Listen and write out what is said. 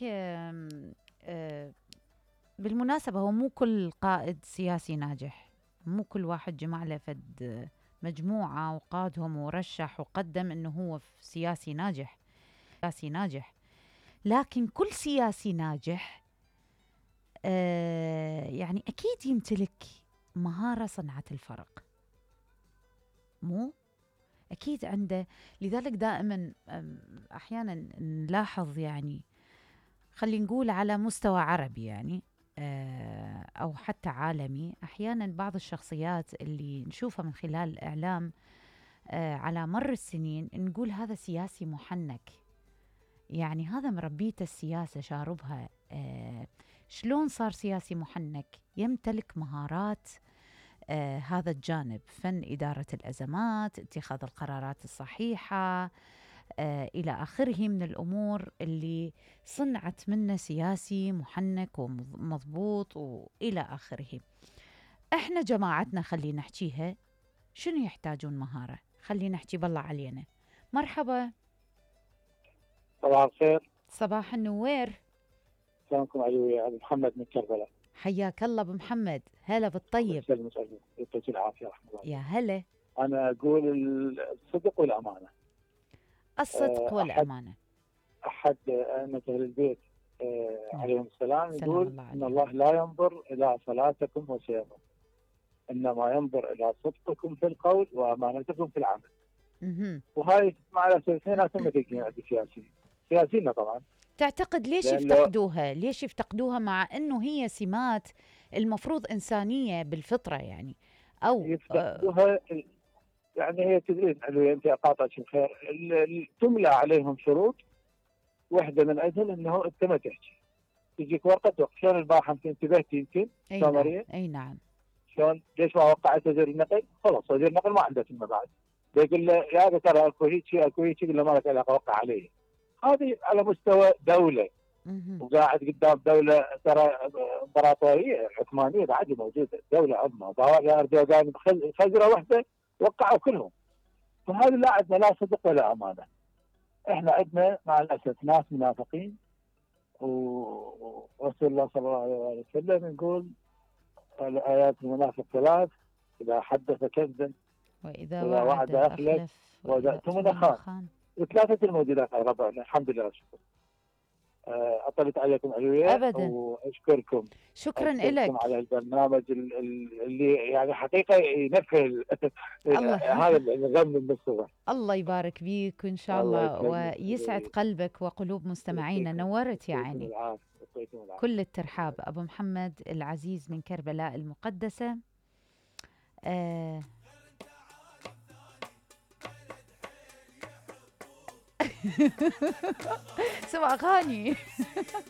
لك بالمناسبة هو مو كل قائد سياسي ناجح، مو كل واحد جمع له فد مجموعة وقادهم ورشح وقدم انه هو سياسي ناجح. لكن كل سياسي ناجح يعني اكيد يمتلك مهارة صنعت الفرق، مو اكيد عنده. لذلك دائما احيانا نلاحظ، يعني خلينا نقول على مستوى عربي يعني أو حتى عالمي، أحياناً بعض الشخصيات اللي نشوفها من خلال الإعلام على مر السنين نقول هذا سياسي محنك، يعني هذا مربيته السياسة شاربها. شلون صار سياسي محنك؟ يمتلك مهارات هذا الجانب، فن إدارة الأزمات، اتخاذ القرارات الصحيحة إلى آخره من الأمور اللي صنعت منه سياسي محنك ومضبوط وإلى آخره. إحنا جماعتنا خلينا نحكيها شنو يحتاجون مهارة، خلينا نحكي بالله علينا. مرحبا. صباح الخير. صباح النوير. سلامكم علي، أبو محمد من كربلاء. حياك الله أبو محمد، هلا بالطيب. يعطيك العافية رحمة الله. يا هلا. أنا أقول الصدق والأمانة. الصدق والأمانة. أحد أئمة أهل البيت عليهم السلام يقول إن الله لا ينظر إلى صلاتكم وصيامكم، إنما ينظر إلى صدقكم في القول وأمانتكم في العمل. وهاي مع الأسف ناس ما سياسيين طبعا. تعتقد ليش يفتقدوها؟ ليش يفتقدوها مع إنه هي سمات المفروض إنسانية بالفطرة يعني؟ أو يفتقدوها يعني هي تدرين علوية، أنت أقاطعك بخير، تملى عليهم شروط واحدة من أجل أنه أنت ما تحكي، تجيك ورقة وقت. شلون البارحة أنت انتبهتي يمكن؟ أي نعم. شلون ليش ما وقعت وزير النقل؟ خلاص وزير النقل ما عنده ثم بعد، يقول له يا هذا ترى اكو هيك يقول له ما لك علاقة وقع عليه. هذه على مستوى دولة وقاعد قدام دولة ترى امبراطورية عثمانية بعد موجودة، دولة عظمى، أردوغان خزرة واحدة وقعوا كلهم. فهذا لا عندنا لا صدق ولا أمانة. احنا عندنا مع الأسف ناس منافقين، ورسول الله صلى الله عليه وسلم يقول الآيات المنافق ثلاث: إذا حدث كذب، وإذا وعد أخلف، وإذا اؤتمن خان. وثلاثة الموجودات على ربعنا الحمد لله والشكر. أطلت عليكم علوية أبدا، وأشكركم. شكرا لك على البرنامج اللي يعني حقيقة ينفذ هذا الغم من الصغر. الله يبارك بيك وإن شاء الله ويسعد قلبك وقلوب مستمعينا. نورت يعني. كل الترحاب. أبو محمد العزيز من كربلاء المقدسة. سمع أغاني